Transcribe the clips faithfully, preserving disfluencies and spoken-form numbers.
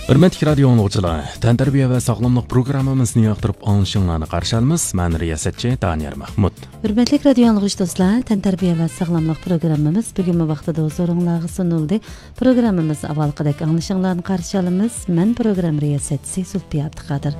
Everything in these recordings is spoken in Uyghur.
ھۆرمەتلىك رادىيو ئاڭلىغۇچىلار، تەنتەربىيە ۋە ساغلاملىق پروگراممىمىزنى ياقتۇرۇپ ئاڭلىشىڭلارنى قارشى ئالىمىز. مەن رىياسەتچى دانىيار مەھمۇت. ھۆرمەتلىك رادىيو ئاڭلىغۇچى دوستلار، تەنتەربىيە ۋە ساغلاملىق پروگراممىمىز بۈگۈنمۇ ۋاقتىدا ھۇزۇرۇڭلارغا سۇنۇلدى. پروگراممىمىزنى ئاۋۋالقىدەك ئاڭلىشىڭلارنى قارشى ئالىمىز. مەن پروگرامما رىياسەتچىسى زۇلپىيە ئابدۇقادىر.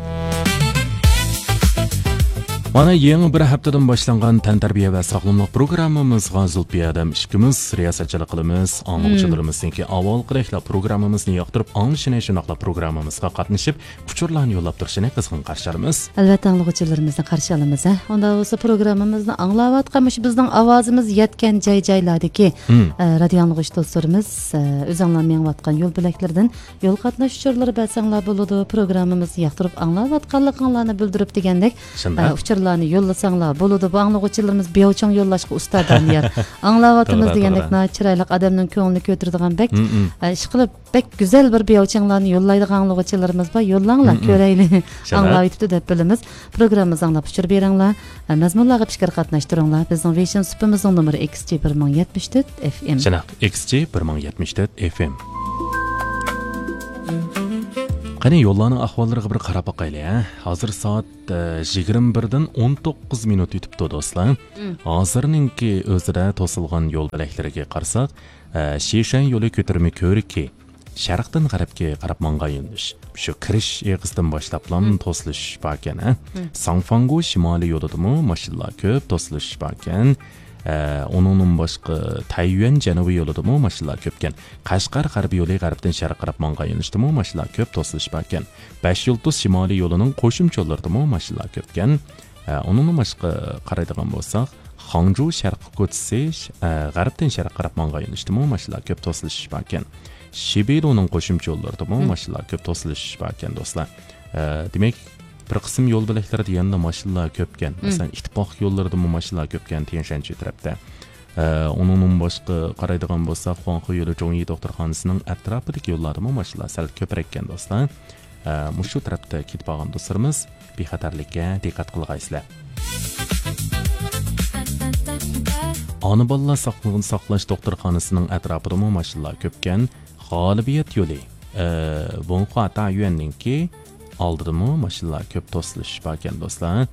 مانا يېڭى بىر ھەپتىدىن باشلانغان تەنتەربىيە ۋە ساغلاملىق پروگراممىمىزغا زۇلپىيە ھەدەم ئىككىمىز رىياسەتچىلىك قىلىمىز. مم. ئاڭلىغۇچىلىرىمىزنىڭكى ئاۋۋالقىدەكلا پروگراممىمىزنى ياقتۇرۇپ ئاڭلىشىنى، شۇنداقلا پروگراممىمىزغا قاتنىشىپ ئۇچۇرلارنى يوللاپ تۇرۇشىنى قىزغىن قارشى ئالىمىز. ئەلۋەتتە، ئاڭلىغۇچىلىرىمىزنى قارشى ئالىمىز، ھە. ئۇنداق بولسا پروگراممىمىزنى ئاڭلاۋاتقان، مۇشۇ بىزنىڭ ئاۋازىمىز يەتكەن جاي-جايلاردىكى، مم. ئە، رادىيو ئاڭلىغۇچى دوستلىرىمىز، ئە، ئۆزۈڭلار مېڭىۋاتقان يول بۆلەكلىرىدىن يول قاتناش ئۇچۇرلىرى بەرسەڭلار بولىدۇ، پروگراممىمىزنى ياقتۇرۇپ ئاڭلاۋاتقانلىقىڭلارنى بىلدۈرۈپ دېگەندەك، شۇنداق. ئە، ئۇچۇرلارنى يوللىساڭلار بولىدۇ. بۇ ئاڭلىغۇچىلىرىمىز بىياۋچىڭ يوللاشقا ئۇستا دانىيار. ئاڭلاۋاتىمىز توغرا، دېگەندەك توغرا. ناھايىتى چىرايلىق، ئادەمنىڭ كۆڭلىنى كۆتۈرىدىغان بەك، مم، مم. ئە، ئىشقىلىپ بەك گۈزەل بىر بىياۋچىڭلارنى يوللايدىغان ئاڭلىغۇچىلىرىمىز بار. يوللاڭلار، مم، مم. كۆرەيلى. شۇنداق. ئاڭلاۋېتىپتۇ دەپ بىلىمىز. پروگراممىمىزنى ئاڭلاپ ئۇچۇر بېرىڭلار. ئە، مەزمۇنلارغا پىكىر قاتناشتۇرۇڭلار. بىزنىڭ ۋېيشىن سۇپىمىزنىڭ نومۇرى ئىكس جى بىر مىڭ يەتمىش تۆت ئېف ئېم. شۇنداق، ئىكس جى بىر مىڭ يەتمىش تۆت ئېف ئېم. قېنى، يوللارنىڭ ئەھۋاللىرىغا بىر قاراپ باقايلى، ھە؟ ھازىر سائەت، ئە، يىگىرمە بىردىن ئون توققۇز مىنۇت ئۆتۈپتۇ، دوستلار. مم. ھازىرنىڭكى ئۆزىدە توسۇلغان يول بۆلەكلىرىگە قارىساق، ئە، شىشەن يولى كۆتۈرمە كۆۋرۈكى، شەرقتىن غەربكە قاراپ ماڭغان يۆنىلىش. شۇ كىرىش ئېغىزىدىن باشلاپلا مم. توسۇلۇش باركەن، ھە؟ مم. ساڭفاڭگو شىمالىي يولىدىمۇ ماشىنىلار كۆپ، توسۇلۇش باركەن. ئە، ئۇنىڭدىن باشقا تەييۈەن جەنۇبىي يولىدىمۇ ماشىنىلار كۆپكەن. قەشقەر غەربىي يولى غەربتىن شەرققە قاراپ ماڭغان يۆنىلىشتىمۇ ماشىنىلار كۆپ، توسۇلۇش باركەن. بەش يۇلتۇز شىمالىي يولىنىڭ قوشۇمچە يوللىرىدىمۇ ماشىنىلار كۆپكەن. ئە، ئۇنىڭدىن باشقا قارايدىغان بولساق، خاڭجۇ شەرقىي كوچىسى، ئە، غەربتىن شەرققە قاراپ ماڭغان يۆنىلىشتىمۇ ماشىنىلار كۆپ، توسۇلۇش باركەن. شىبېدۇنىڭ قوشۇمچە يوللىرىدىمۇ مم. ماشىنىلار كۆپ، توسۇلۇش باركەن، دوستلار. ئە، دېمەك، بىر قىسىم يول بۆلەكلىرىدە يەنىلا ماشىنىلار كۆپكەن. مم. مەسىلەن، ئىتتىپاق يوللىرىدىمۇ ماشىنىلار كۆپكەن، تيەنشەنچۈ تەرەپتە. ئە، ئۇنىڭدىن باشقا قارايدىغان بولساق، خۇاڭخې يولى جۇڭيى دوختۇرخانىسىنىڭ ئەتراپىدىكى يوللاردىمۇ ماشىنىلار سەل كۆپرەككەن، دوستلار. ئە، مۇشۇ تەرەپتە كېتىپ بارغان دوستلىرىمىز بىخەتەرلىككە دىققەت قىلغايسىلەر. ئانا بالىلار ساقلىقىنى ساقلاش دوختۇرخانىسىنىڭ ئەتراپىدىمۇ ماشىنىلار كۆپكەن. غالىبىيەت يولى، ئە، ۋېنخۇا تايۈەننىڭكى ئالدىدىمۇ ماشىنىلار كۆپ، توسۇلۇش باركەن، دوستلار.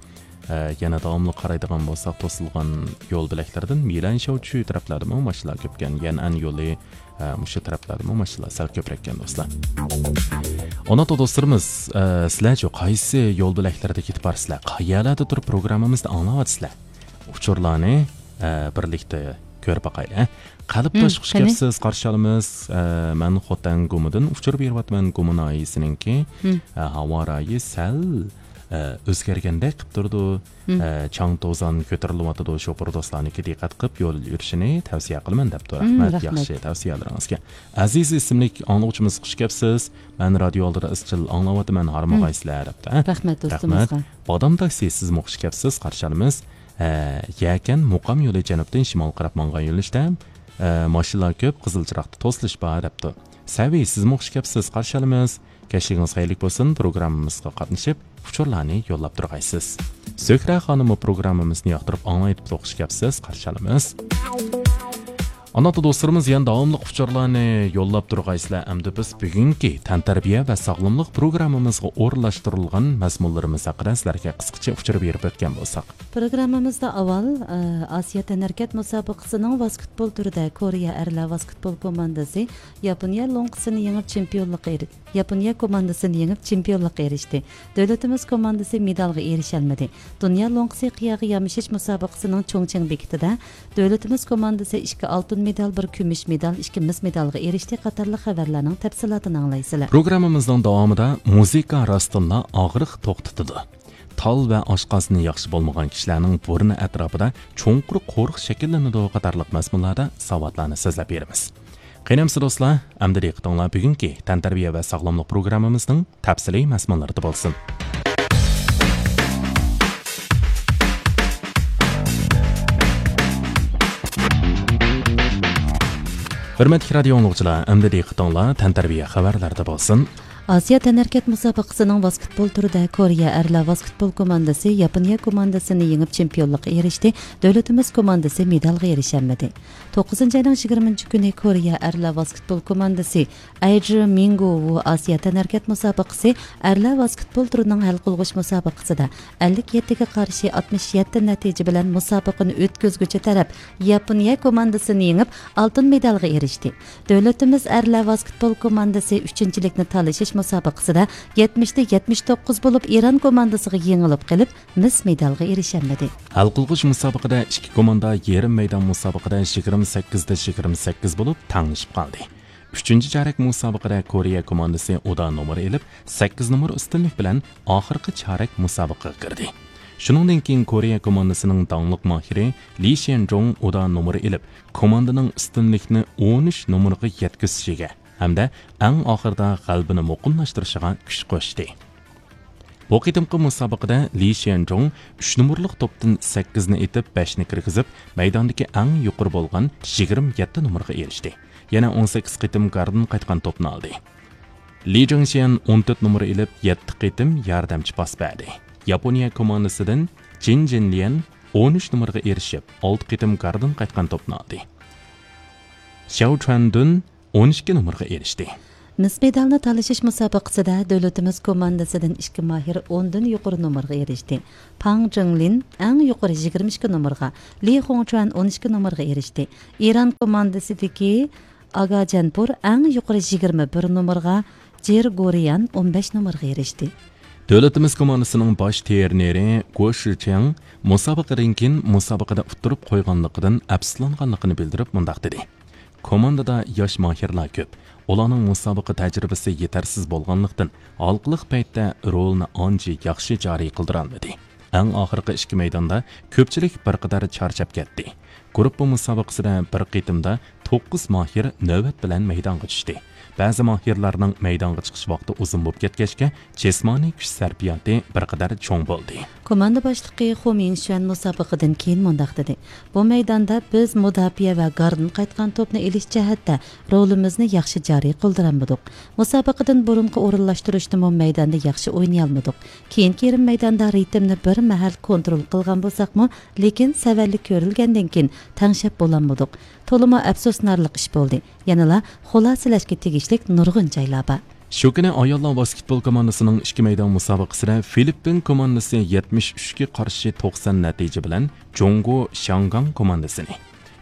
ئە، يەنە داۋاملىق قارايدىغان بولساق، توسۇلغان يول بۆلەكلىرىدىن مىلەن شياۋچۈ تەرەپلەردىمۇ ماشىنىلار كۆپكەن. يەنئەن يولى، ئە، مۇشۇ تەرەپلەردىمۇ ماشىنىلار سەل كۆپرەككەن، دوستلار. ئۇنداقتا دوستلىرىمىز، ئە، سىلەرچۇ قايسى يول بۆلەكلىرىدە كېتىپ بارىسىلەر؟ قەيەرلەردە تۇرۇپ پروگراممىمىزنى ئاڭلاۋاتىسىلەر؟ ئۇچۇرلارنى، ئە، بىرلىكتە كۆرۈپ باقايلى. قەلبداش، مم، خوش قېنى. كەپسىز، قارشى ئالىمىز. ئە، مەن خوتەن گۇمىدىن ئۇچۇر بېرىۋاتىمەن، گۇما ناھىيەسىنىڭكى. مم. ئە، ھاۋا رايى سەل، ئە، ئۆزگەرگەندەك قىپ تۇرىدۇ. مم. ئە، چاڭ توزان كۆتۈرۈلۈۋاتىدۇ، شوپۇر دوستلارنىڭكى دىققەت قىپ يول يۈرۈشىنى تەۋسىيە قىلىمەن دەپتۇ. مم، رەھمەت، رەھمەت. ياخشى تەۋسىيەلىرىڭىزگە. ئەزىز ئىسىملىك ئاڭلىغۇچىمىز، خوش كەپسىز. مەن رادىيو ئالدىدا ئىزچىل ئاڭلاۋاتىمەن، ھارمىغايسىلەر، دەپتۇ. رەھمەت دوستىمىزغا. رەھمەت. بادام تاكسى، سىزمۇ خوش كەپسىز، قارشى ئالىمىز. ئە، يەكەن مۇقام يولى جەنۇبتىن شىمالغا قاراپ ماڭغان يۆنىلىشتە، ئە، ماشىنىلار كۆپ، قىزىل چىراغدا توسۇلۇش بار، دەپتۇ. سەۋى، سىزمۇ خوش كەپسىز، قارشى ئالىمىز. كەچلىكىڭىز خەيرلىك بولسۇن، پروگراممىمىزغا قاتنىشىپ، ئۇچۇرلارنى يوللاپ تۇرغايسىز. زۆھرە خانىممۇ پروگراممىمىزنى ياقتۇرۇپ ئاڭلايدۇ، خوش كەپسىز، قارشى ئالىمىز. ئانا دوستلىرىمىز يەنە داۋاملىق ئۇچۇرلارنى يوللاپ تۇرغايسىلەر. ئەمدى بىز بۈگۈنكى تەنتەربىيە ۋە ساغلاملىق پروگراممىمىزغا ئورۇنلاشتۇرۇلغان مەزمۇنلىرىمىز ھەققىدە سىلەرگە قىسقىچە ئۇچۇر بېرىپ ئۆتكەن بولساق. پروگراممىمىزدا ئاۋۋال، ئە، ئاسىيا تەنھەرىكەت مۇسابىقىسىنىڭ ۋاسكېتبول تۈرىدە كورېيە ئەرلەر ۋاسكېتبول كوماندىسى ياپونىيە لوڭقىسىنى يېڭىپ چېمپىيونلۇققا ئېرىشتى. ياپونىيە كوماندىسىنى يېڭىپ چېمپىيونلۇققا ئېرىشتى. دۆلىتىمىز كوماندىسى مېدالغا ئېرىشەلمىدى. دۇنيا لوڭقىسى قىياغا يامىشىش مۇسابىقىسىنىڭ چۇڭچىڭ بېكىتىدە دۆلىتىمىز كوماندىسى ئىككى ئالتۇن مېدال، بىر كۈمۈش مېدال، ئىككى مىس مېدالغا ئېرىشتى قاتارلىق خەۋەرلەرنىڭ تەپسىلاتىنى ئاڭلايسىلەر. پروگراممىمىزنىڭ داۋامىدا مۇزىكا راستتىنلا ئاغرىق توختىتىدۇ. تال ۋە ئاشقازىنى ياخشى بولمىغان كىشىلەرنىڭ بۇرنى ئەتراپىدا چوڭقۇر قورۇق شەكىللىنىدۇ قاتارلىق مەزمۇنلاردا ساۋاتلارنى سۆزلەپ بېرىمىز. قېنى ئەمىسە دوستلار، ئەمدى دىققىتىڭلار بۈگۈنكى تەنتەربىيە ۋە ساغلاملىق پروگراممىمىزنىڭ تەپسىلىي مەزمۇنلىرىدا بولسۇن. ھۆرمەتلىك رادىيو ئاڭلىغۇچىلار، ئەمدى دىققىتىڭلار تەنتەربىيە خەۋەرلىرىدە بولسۇن. ئاسىيا تەنھەرىكەت مۇسابىقىسىنىڭ ۋاسكېتبول تۈرىدە كورېيە ئەرلەر ۋاسكېتبول كوماندىسى ياپونىيە كوماندىسىنى يېڭىپ چېمپىيونلۇققا ئېرىشتى، دۆلىتىمىز كوماندىسى مېدالغا ئېرىشەلمىدى. توققۇزىنچى ئاينىڭ يىگىرمىنچى كۈنى كورېيە ئەرلەر ۋاسكېتبول كوماندىسى ئەيجى مىڭگو ۋۇ ئاسىيا تەنھەرىكەت مۇسابىقىسى ئەرلەر ۋاسكېتبول تۈرىنىڭ ھەل قىلغۇچ مۇسابىقىسىدە ئەللىك يەتتىگە قارشى ئاتمىش يەتتە نەتىجە بىلەن مۇسابىقىنى ئۆتكۈزگۈچى تەرەپ ياپونىيە كوماندىسىنى يېڭىپ، ئالتۇن مېدالغا ئېرىشتى. دۆلىتىمىز ئەرلەر ۋاسكېتبول كوماندىسى ئۈچىنچىلىكنى تالىشىش مۇسابىقىسىدە يەتمىشتە يەتمىش توققۇز بولۇپ، ئىران كوماندىسىغا يېڭىلىپ قېلىپ، مىس مېدالغا ئېرىشەلمىدى. ھەل قىلغۇچ مۇسابىقىدە ئىككى كوماندا يېرىم مەيدان مۇسابىقىدە يىگىرمە سەككىزدە يىگىرمە سەككىز بولۇپ، تەڭلىشىپ قالدى. ئۈچىنچى چارەك مۇسابىقىدە كورېيە كوماندىسى ئۇدا نومۇر ئېلىپ، سەككىز نومۇر ئۈستۈنلۈك بىلەن ئاخىرقى چارەك مۇسابىقىگە كىردى. شۇنىڭدىن كېيىن كورېيە كوماندىسىنىڭ داڭلىق ماھىرى لى شيەنجۇڭ ئۇدا نومۇر ئېلىپ، كوماندىنىڭ ئۈستۈنلۈكنى ئون ئۈچ نومۇرغا يەتكۈزۈشىگە ھەمدە ئەڭ ئاخىرىدا غەلىبىنى مۇقىملاشتۇرۇشىغا كۈچ قوشتى. بۇ قېتىمقى مۇسابىقىدە لى شيەنجۇڭ ئۈچ نومۇرلۇق توپتىن سەككىزنى ئېتىپ، بەشنى كىرگۈزۈپ، مەيداندىكى ئەڭ يۇقىرى بولغان يىگىرمە يەتتە نومۇرغا ئېرىشتى. يەنە ئون سەككىز قېتىم گاردىن قايتقان توپنى ئالدى. لى جىڭشيەن ئون تۆت نومۇر ئېلىپ، يەتتە قېتىم ياردەمچى پاس بەردى. ياپونىيە كوماندىسىدىن جىن جىنليەن ئون ئۈچ نومۇرغا ئېرىشىپ، ئالتە قېتىم گاردىن قايتقان توپنى ئالدى. شياۋ چۈەندۈن ئون ئىككى نومۇرغا ئېرىشتى. مىس مېدالنى تالىشىش مۇسابىقىسىدە دۆلىتىمىز كوماندىسىدىن ئىككى ماھىر ئوندىن يۇقىرى نومۇرغا ئېرىشتى. پاڭ جىڭلىن ئەڭ يۇقىرى يىگىرمە ئىككى نومۇرغا، لى خۇڭچۈەن ئون ئىككى نومۇرغا ئېرىشتى. ئىران كوماندىسىدىكى ئاگا جەنپۇر ئەڭ يۇقىرى يىگىرمە بىر نومۇرغا، جېر گورىيان ئون بەش نومۇرغا ئېرىشتى. دۆلىتىمىز كوماندىسىنىڭ باش ترېنېرى گو شىچياڭ مۇسابىقىدىن كېيىن مۇسابىقىدە ئۇتتۇرۇپ قويغانلىقىدىن ئەپسۇسلانغانلىقىنى بىلدۈرۈپ مۇنداق دېدى: كوماندىدا ياش ماھىرلار كۆپ. ئۇلارنىڭ مۇسابىقە تەجرىبىسى يېتەرسىز بولغانلىقتىن، ھالقىلىق پەيتتە رولىنى ئانچە ياخشى جارى قىلدۇرالمىدى. ئەڭ ئاخىرقى ئىككى مەيداندا كۆپچىلىك بىر قەدەر چارچاپ كەتتى. گۇرۇپپا مۇسابىقىسىدە بىر قېتىمدا توققۇز ماھىر نۆۋەت بىلەن مەيدانغا چۈشتى. بەزى ماھىرلارنىڭ مەيدانغا چىقىش ۋاقتى ئۇزۇن بولۇپ كەتكەچكە، جىسمانىي كۈچ سەرپىياتى بىر قەدەر چوڭ بولدى. كوماندا باشلىقى خۇ مىڭشۈەن مۇسابىقىدىن كېيىن مۇنداق دېدى: بۇ مەيداندا بىز مۇداپىئە ۋە گاردىن قايتقان توپنى ئېلىش جەھەتتە رولىمىزنى ياخشى جارى قىلدۇرالمىدۇق. مۇسابىقىدىن بۇرۇنقى ئورۇنلاشتۇرۇشتىمۇ مەيداندا ياخشى ئوينىيالمىدۇق. كېيىنكى يېرىم مەيداندا رىتىمنى بىر مەھەل كونترول قىلغان بولساقمۇ، لېكىن سەۋەنلىك كۆرۈلگەندىن كېيىن تەڭشەپ بولالمىدۇق. تولىمۇ ئەپسۇسلىنارلىق ئىش بولدى. يەنىلا خۇلاسىلەشكە تېگىشلىك نۇرغۇن جايلار بار. شۇ كۈنى ئاياللار ۋاسكېتبول كوماندىسىنىڭ ئىككى مەيدان مۇسابىقىسىدە فىلىپپىن كوماندىسى يەتمىش ئۈچكە قارشى توقسان نەتىجە بىلەن جۇڭگو شياڭگاڭ كوماندىسىنى،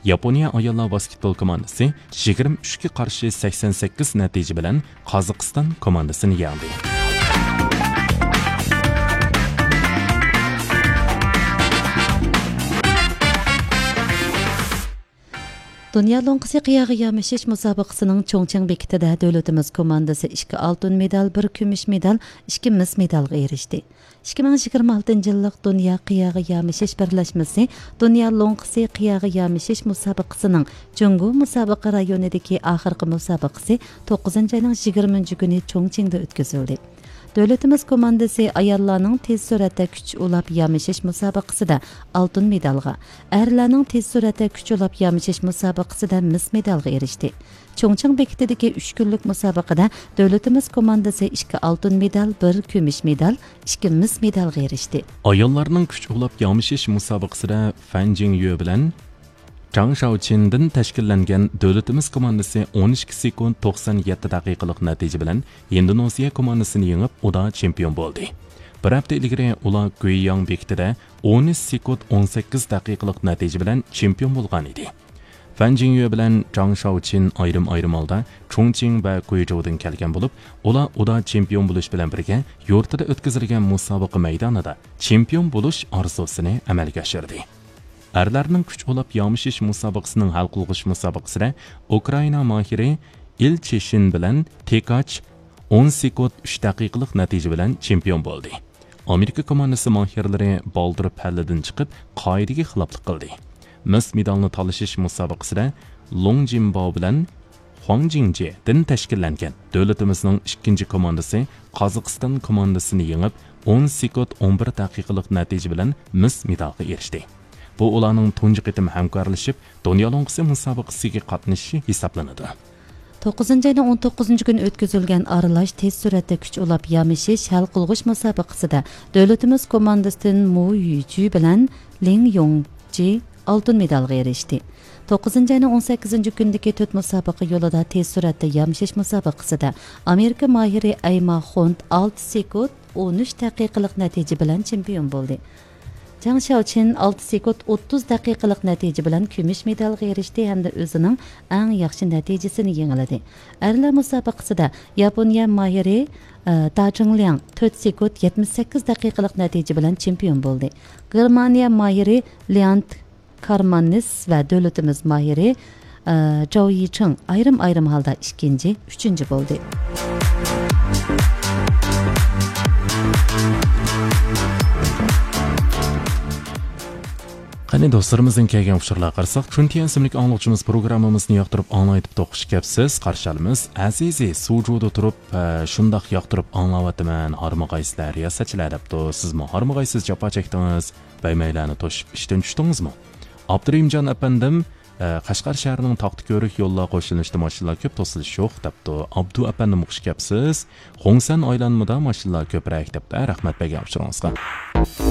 ياپونىيە ئاياللار ۋاسكېتبول كوماندىسى يىگىرمە ئۈچكە قارشى سەكسەن سەككىز نەتىجە بىلەن قازاقىستان كوماندىسىنى يەڭدى. دۇنيا لوڭقىسى قىياغا يامىشىش مۇسابىقىسىنىڭ چۇڭچىڭ بېكىتىدە دۆلىتىمىز كوماندىسى ئىككى ئالتۇن مېدال، بىر كۈمۈش مېدال، ئىككى مىس مېدالغا ئېرىشتى. ئىككى مىڭ يىگىرمە ئالتىنچى يىللىق دۇنيا قىياغا يامىشىش بىرلەشمىسى دۇنيا لوڭقىسى قىياغا يامىشىش مۇسابىقىسىنىڭ جۇڭگو مۇسابىقە رايونىدىكى ئاخىرقى مۇسابىقىسى توققۇزىنچى ئاينىڭ يىگىرمىنچى كۈنى چۇڭچىڭدا ئۆتكۈزۈلدى. دۆلىتىمىز كوماندىسى ئاياللارنىڭ تېز سۈرئەتتە كۈچ ئۇلاپ يامىشىش مۇسابىقىسىدە ئالتۇن مېدالغا، ئەرلەرنىڭ تېز سۈرئەتتە كۈچ ئۇلاپ يامىشىش مۇسابىقىسىدە مىس مېدالغا ئېرىشتى. چۇڭچىڭ بېكىتىدىكى ئۈچ كۈنلۈك مۇسابىقىدە دۆلىتىمىز كوماندىسى ئىككى ئالتۇن مېدال، بىر كۈمۈش مېدال، ئىككى مىس مېدالغا ئېرىشتى. ئاياللارنىڭ كۈچ ئۇلاپ يامىشىش مۇسابىقىسىدە فەن جىڭيۈ بىلەن جاڭ شاۋچىندىن تەشكىللەنگەن دۆلىتىمىز كوماندىسى ئون ئىككى سېكۇنت توقسان يەتتە دەقىقىلىق نەتىجە بىلەن ئىندونېزىيە كوماندىسىنى يېڭىپ، ئۇدا چېمپىيون بولدى. بىر ھەپتە ئىلگىرى ئۇلار گۇيياڭ بېكىتىدە ئون ئۈچ سېكۇنت ئون سەككىز دەقىقىلىق نەتىجە بىلەن چېمپىيون بولغان ئىدى. فەن جىڭيۈ بىلەن جاڭ شاۋچىن ئايرىم-ئايرىم ھالدا چۇڭچىڭ ۋە گۇيجۇدىن كەلگەن بولۇپ، ئۇلار ئۇدا چېمپىيون بولۇش بىلەن بىرگە يۇرتىدا ئۆتكۈزۈلگەن مۇسابىقە مەيدانىدا چېمپىيون بولۇش ئارزۇسىنى ئەمەلگە ئاشۇردى. ئەرلەرنىڭ كۈچ ئۇلاپ يامىشىش مۇسابىقىسىنىڭ ھەل قىلغۇچ مۇسابىقىسىدە ئۇكرائىنا ماھىرى ئىل چېشىن بىلەن تېكاچ ئون سېكۇنت ئۈچ دەقىقىلىق نەتىجە بىلەن چېمپىيون بولدى. ئامېرىكا كوماندىسى ماھىرلىرى بالدۇر پەللىدىن چىقىپ، قائىدىگە خىلاپلىق قىلدى. مىس مېدالنى تالىشىش مۇسابىقىسىدە لوڭ جىنباۋ بىلەن خۇاڭ جىڭجيېدىن تەشكىللەنگەن دۆلىتىمىزنىڭ ئىككىنچى كوماندىسى قازاقىستان كوماندىسىنى يېڭىپ، ئون سېكۇنت ئون بىر دەقىقىلىق نەتىجە بىلەن مىس مېدالغا ئېرىشتى. بۇ ئۇلارنىڭ تۇنجى قېتىم ھەمكارلىشىپ، دۇنيا لوڭقىسى مۇسابىقىسىگە قاتنىشىشى ھېسابلىنىدۇ. توققۇزىنچى ئاينىڭ ئون توققۇزىنچى كۈنى ئۆتكۈزۈلگەن ئارىلاش تېز سۈرئەتتە كۈچ ئۇلاپ يامىشىش ھەل قىلغۇچ مۇسابىقىسىدە دۆلىتىمىز كوماندىسىدىن مۇ يۈجۈ بىلەن لىڭ يوڭجى ئالتۇن مېدالغا ئېرىشتى. توققۇزىنچى ئاينىڭ ئون سەككىزىنچى كۈنىدىكى تۆت مۇسابىقە يولىدا تېز سۈرئەتتە يامىشىش مۇسابىقىسىدە ئامېرىكا ماھىرى ئەيما خونت ئالتە سېكۇنت ئون ئۈچ دەقىقىلىق نەتىجە بىلەن چېمپىيون بولدى. جاڭ شياۋچىن ئالتە سېكۇنت ئوتتۇز دەقىقىلىق نەتىجە بىلەن كۈمۈش مېدالغا ئېرىشتى ھەمدە ئۆزىنىڭ ئەڭ ياخشى نەتىجىسىنى يېڭىلىدى. ئەرلەر مۇسابىقىسىدا ياپونىيە ماھىرى، ئە، دا جىڭلياڭ تۆت سېكۇنت يەتمىش سەككىز دەقىقىلىق نەتىجە بىلەن چېمپىيون بولدى. گېرمانىيە ماھىرى ليانت كارماننىس ۋە دۆلىتىمىز ماھىرى، ئە، جاۋ يىچىڭ ئايرىم-ئايرىم ھالدا ئىككىنچى، ئۈچىنچى بولدى. قېنى دوستلىرىمىزدىن كەلگەن ئۇچۇرلارغا قارىساق، چۈنتيەن ئىسىملىك ئاڭلىغۇچىمىز پروگراممىمىزنى ياقتۇرۇپ ئاڭلايتىپتۇ، خۇش كەپسىز، قارشى ئالىمىز. ئەزىزى سۇجۇدا تۇرۇپ، ئە، شۇنداق ياقتۇرۇپ ئاڭلاۋاتىمەن، ھارمىغايسىلەر رىياسەتچىلەر دەپتۇ. سىزمۇ ھارمىغايسىز، جاپا چەكتىڭىز، بەيمەيلەرنى توشۇپ ئىشتىن چۈشتىڭىزمۇ؟ ئابدۇرېھىمجان ئەپەندىم، ئە، قەشقەر شەھىرىنىڭ تاختا كۆۋرۈك يوللار قوشۇلۇشىدا ماشىنىلار كۆپ، توسۇلۇش يوق دەپتۇ. ئابدۇ ئەپەندىم خۇش كەپسىز. خۇڭسەن ئايلانمىدا ماشىنىلار كۆپرەك دەپتۇ. رەھمەت بەرگەن ئۇچۇرىڭىزغا.